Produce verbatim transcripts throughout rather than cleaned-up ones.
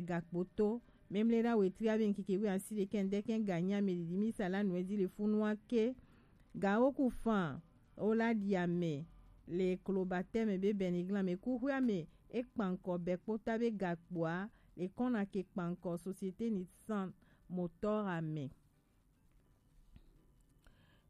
Gakpoto. Memle la wetri abe nkeke wi asi de kende ken ganya me didi mi sala nwe di le funua ke. Ga oku fan o la di ame le klo bateme be beniglan me kuhwe ame e kpanko be kpota be gakpoa le kona ke kpanko société ni san motor ame.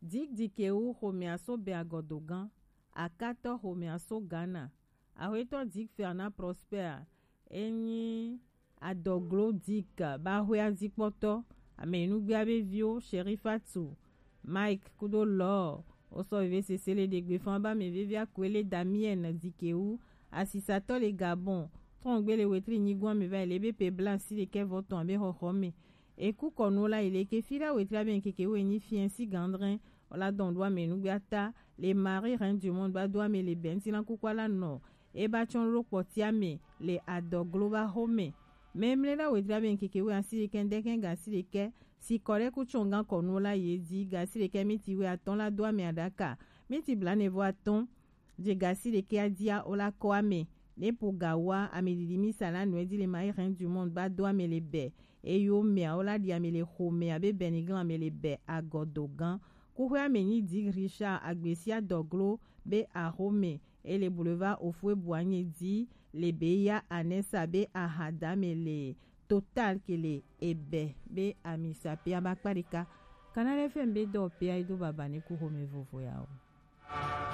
Dik dikewu xomea so be agodogan, akatɔ xomea so Ghana, axwetɔ Dik Fernand Prosper, enyi adɔglo Dik ba axwea dikpɔtɔ, ame nugbea be viwo, Sherifatu, Mike kudo Lɔ, wosɔ veve sese le ɖegbe fan ba ame vevia Kuele Damien dikewu, asisatɔ le Gabon, trɔngbe le wetri nyigun ame va yi le be pe blanc si le kɛ vɔ tɔn abe xɔxɔ me. Eku kɔnu la yi le ke fi la wetri abe nkeke wo enyi fiɛ si gandrin, wala dɔn do ame nugbe ata, le Marie Reine du Monde ba do ame le bɛnti la kukua la nɔ, e ba tsɔn lo kpɔti ame le adɔglo ba xo me. Memle la wetri abe nkeke wo asi le kɛ ndɛ kɛ ga si le kɛ, si kɔ ɖe ku tsɔn gan kɔnu la yi di ga si le kɛ miti wo atɔn la do ame aɖaka, miti blanɛ vo atɔn, je ga si le kɛ adia o la kɔ ame, ne po ga wa ame didi mi sa la nɔ di le Marie Reine du Monde ba do ame le bɛ, eyo mea o la di ame le xo mea be beniglan ame le bɛ agɔdo gan. Kuxwe ame nyi di Richard Agbesia dɔglo be axo me, e le boulevard Ofue Boigny di le be ya Anessa be ahadame le Total ke le ebɛ be amisa pe aba kparika. Canal F M be dɔ pe a do baba ne ku xo me vovo ya o.